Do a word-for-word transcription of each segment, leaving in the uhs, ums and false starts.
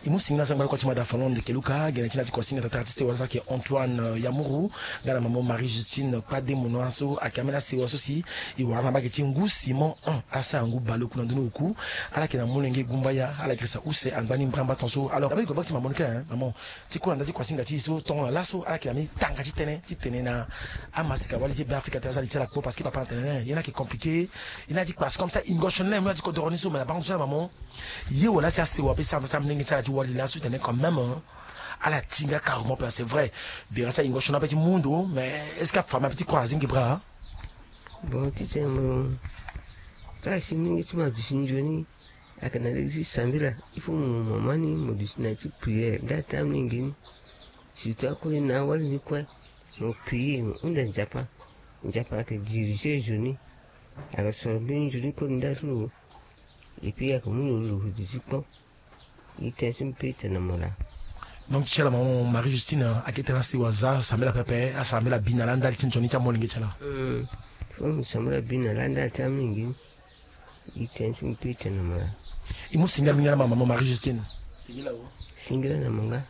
E mu singila so angba lokua ti mada fano ndeke luka gene ti na ti kuasinga tatara ti sewa so ayeke Antoine, euh, Yamuru, nga na mama Marie Justine Kpademona so ayeke ambeni asewa so si e wara na mbage ti ngu Simon un asara ngu baleoku na ndoni oku. Ala yeke na molenge gumbaya ala girisa use angba ni mbramba ton so. Alors abaa e gue mbage ti mama ni ka, hein, mama, ti kue na nda ti kuasinga ti e so tongo na laso ala yeke na mbeni tanga ti tënë ti tene na amaseka wali ti Beafrika ti asara li ti ala kpo parce que papa na tene, eh, ye ni ayeke compliqué. Ye ni ayeke ti kpasi comme ça ingotion ni mu na ti kodoro ni so me na bango ti ala mama. Ye wala si asewa ape sara na ti amolenge ti ala ti wali laso ti tene quand même, hein, ala ti nga carrément ape, c'est vrai. Bira ti aingotion ni ape ti mu ndo mais est-ce que afami ape ti croire azingi bra? Bon, ti tene mo sara si molenge ti mo aduti nzoni. Ayeke na lege ti sambela. Il faut mo mama ni mo duti na ya ti prière nda ti amolenge ni. Surtout akue na awali ni kue. Mo prier mo hunda Nzapa. Nzapa ayeke diriger nzoni. Ayeke soro mbeni nzoni kue nda ti lo. Et puis ayeke mu lo lo duti kpo. Ita ti mpe ita na mara. Donc ti ala mama Marie Justine ayeke tena si wa za sambela pepe asambela bi na la ndali ti nzoni ti amolenge ti ala. Fo mo sambela bi na la ndali ti amolenge ni. Ita ti mpe ita na mara. E mu singila mingi na mama Marie Justine. Singila na manga.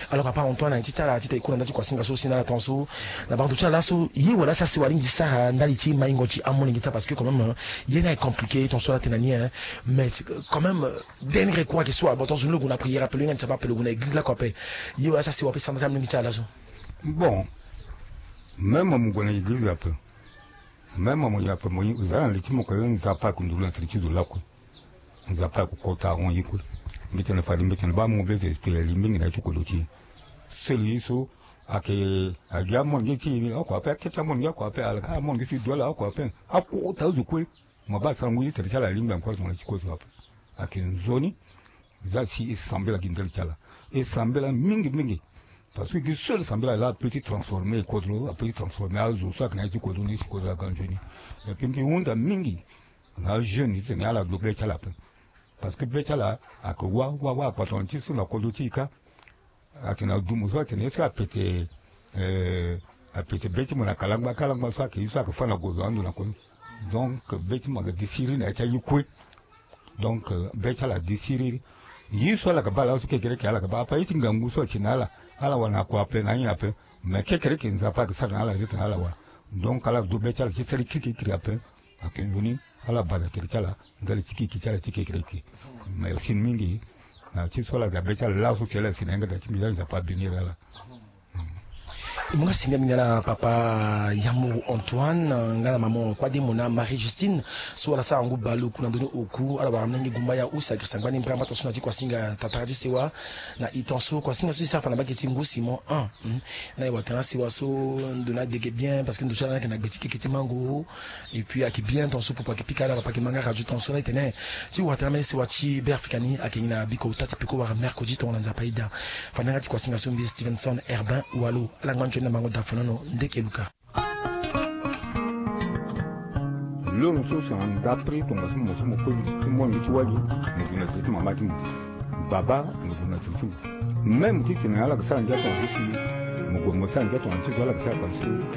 Alors papa Antoine, ti tara ti tene e ku na nda ti kuasinga so si na ala ton so na bango ti ala so ye wala si asewa alingbi ti sara ndali ti maingo ti amolenge ti ala parce que quand même ye ni ayeke compliqué ton so ala tene na ni, hein. Mais quand même, dernier recours ayeke so abo ton so ni lo gue na prière ape lo hinga ni ti ape ape lo gue na église lakue ape. Ye wala si asewa ape sara nda ti amolenge ti ala so. Bon, même mo gue na église ape. Même mo gue ape mo za na li ti mo ka ye Nzapa ayeke nduru na tere ti zo lakue. Nzapa ayeke kota ahon ye kue. Mbi tene fade mbi tene baa mo be esprit ali mingi na ye ti kodro ti e. Seli ye so ayeke agi amolenge ti e ni oko ape akete amolenge oko ape ala ka amolenge ti e duala oko ape. Akota azo kue. Mo baa sara ngu ti tere ti ala alingbi encore zo na ti kue so ape. Ayeke nzoni. Za si e sambela gi ndali ti ala. E sambela mingi mingi. Parce que gi seul sambela laa ape ti transformer e kodro ape ti transformer azo so ayeke na ye ti kodro ni si kodro aga nzoni. Et puis mbi hunda mingi na ajeune ti tene ala gue be ti ala ape. Parce que be ti ala ayeke wa wa wa akpatana ti so na kodro ti e ka. Atene adumo so atene est-ce que apete eh, apete be ti mo na kalangba kalangba so ayeke ye so ayeke fâ na gozo ando na koni. Donc be ti mo ayeke desiri na ya ti aye kue. Donc be ti ala adesiri. Ye so ala yeke baa laso kekereke ala yeke baa ape aye ti ngangu so ati na ala. Ala wara na kua ape na anyen ape. Mais kekereke Nzapa ayeke sara na ala ye ti tene ala wara. Donc ala do be ti ala ti sara kirikiri ape. Ayeke nzoni ala baa na tere ti ala ndali ti kiki ti ala ti kekereke. Merci mingi. Na ti so ala ga be ti ala laso si ala si na yanga da ti mbi la Nzapa abénir ala. E mu nga singila mingi na ala papa Yamuru Antoine nga na mama Kpademona Marie Justine so ala sara ngu baleoku na ndoni oku ala wara molenge gumbaya use agirisa ngbani mbrambata so na ti kuasinga tatara ti sewa. Na e ton so kuasinga so e sara fa na mbage ti ngu Simon un. Na e wara tena sewa so ndo ni adege bien parce que ndo so ala ni ayeke na gbe ti keke ti mango. Et puis ayeke bien ton so popo ayeke pika ala papa ayeke ma nga radio ton so na e tene ti wara tena mbeni sewa ti Beafrika ni ayeke ngi na biko ota ti peko wara mercredi tongo na Nzapa aida. Fa na yanga ti kuasinga so mbi Stevenson Herbin Walo ala ngba nzoni na mango da fanono ndeke luka. Lono so si na ndapre tongaso mo so mo koli ti mo na mbi ti wali mo gue na tere ti mama ti mo. Baba mo gue na tere ti mo. Même ti tene ala yeke sara ngia tongaso si mo gue mo sara ngia tongaso ti so ala yeke sara tongaso.